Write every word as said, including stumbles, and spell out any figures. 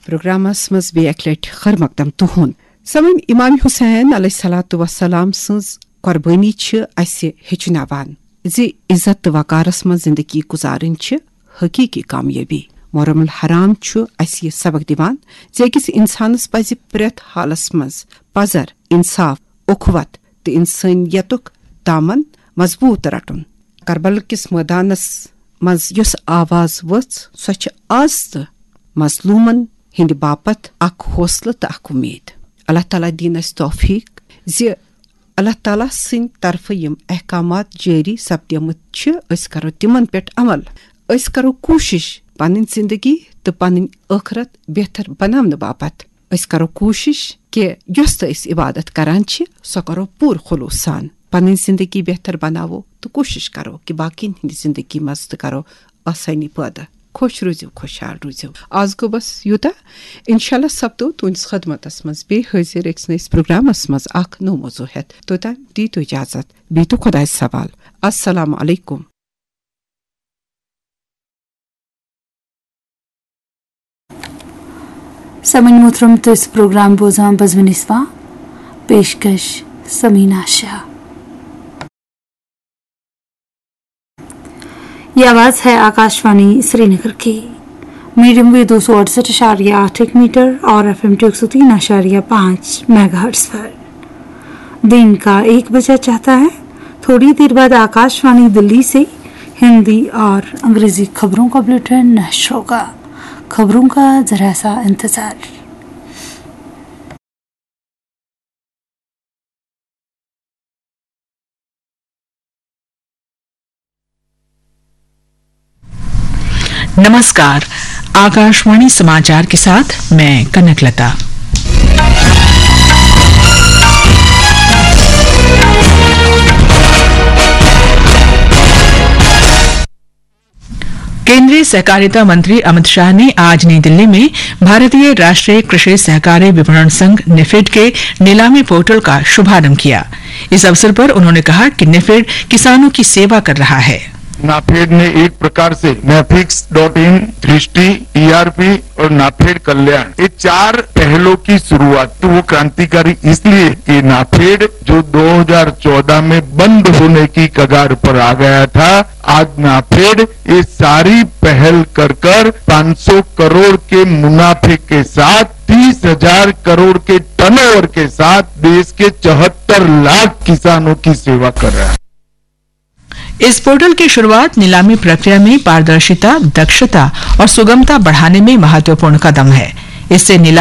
Programmes منٛز بیٚیہِ اکہِ لٹہِ خٲر مقدم تُہُنٛد۔ سمن، امام حسین علیہ الصلوۃ والسلام سٕنٛز قۄربٲنی چھِ اسہِ ہیٚچھناوان زِ عزت تہٕ وقارس منٛز زندگی گُزارٕنۍ چھِ حقیقی کامیٲبی۔ محرم الحرام چھُ اسہِ یہِ سبق دِوان زِ أکِس انسانس پزِ پرٛٮ۪تھ حالس منٛز پزر، انصاف، اخوت تہٕ انسانیتُک دامن مضبوط رٹُن۔ کربل کِس مٲدانس منٛز یۄس آواز ؤژھ، سۄ چھِ آز تہٕ مظلومن ہٕنٛدِ باپتھ اکھ حوصلہٕ تہٕ اکھ اُمید۔ اللہ تعالیٰ دِیِن اسہِ توفیق زِ اللہ تعالیٰ سٕنٛدِ طرفہٕ یِم احکامات جٲری سپدیمٕتۍ چھِ، أسۍ کرو تِمن پٮ۪ٹھ عمل۔ أسۍ کرو کوٗشِش پنٕنۍ زندگی تہٕ پنٕنۍ ٲخرت بہتر بناونہٕ باپتھ۔ أسۍ کرو کوٗشِش کہِ یۄس تہِ أسۍ عبادت کران چھِ، سۄ کرو پوٗرٕ خلوص سان۔ پنٕنۍ زندگی بہتر بناوو تہٕ کوٗشِش کرو کہِ باقین ہٕنٛدِ زندگی منٛز تہِ کرو آسٲنی پٲدٕ۔ خۄش روٗزِو، خۄشحال روٗزِو۔ آز گوٚو بس یوٗتاہ۔ انشاءاللہ سپدو تُہنٛدِس خدمتس منٛز بیٚیہِ حٲضِر أکِس نٔیِس پروگرامس منٛز اکھ نوٚو موضوع ہٮ۪تھ۔ توٚتام دیٖتو اجازت، بیٚیہِ تو خۄدایس حوال۔ السلام علیکم۔ سمن محترم، تُہۍ ٲسِو پروگرام بوزان بزمِ نسواں، پیشکش سمینا شاہ۔ یہ آواز ہے آکاشوانی سری نگر کی۔ میڈیم ویو دو سو اڑسٹھ اشاریہ آٹھ ایک میٹر اور ایف ایم ٹو ایک سو تین اشاریہ پانچ میگا ہرٹز پر۔ دن کا ایک بجا چاہتا ہے۔ تھوڑی دیر بعد آکاشوانی دلی سے ہندی اور انگریزی خبروں کا بلیٹن نشر ہوگا۔ خبروں کا ذرا سا انتظار۔ नमस्कार, आकाशवाणी समाचार के साथ मैं कनकलता। केंद्रीय सहकारिता मंत्री अमित शाह ने आज नई दिल्ली में भारतीय राष्ट्रीय कृषि सहकारी विपणन संघ नेफेड के नीलामी पोर्टल का शुभारंभ किया। इस अवसर पर उन्होंने कहा कि नेफेड किसानों की सेवा कर रहा है। नाफेड ने एक प्रकार से नेफिक्स डॉट इन, दृष्टि, ईआरपी और नाफेड कल्याण, ये चार पहलों की शुरुआत। तो वो क्रांतिकारी इसलिए कि नाफेड जो दो हज़ार चौदह में बंद होने की कगार पर आ गया था, आज नाफेड ये सारी पहल कर कर पाँच सौ करोड़ के मुनाफे के साथ, तीस हज़ार करोड़ के टर्नओवर के साथ देश के चौहत्तर लाख किसानों की सेवा कर रहा है। इस पोर्टल की शुरुआत नीलामी प्रक्रिया में पारदर्शिता, दक्षता और सुगमता बढ़ाने में महत्वपूर्ण कदम है। इससे नीलामी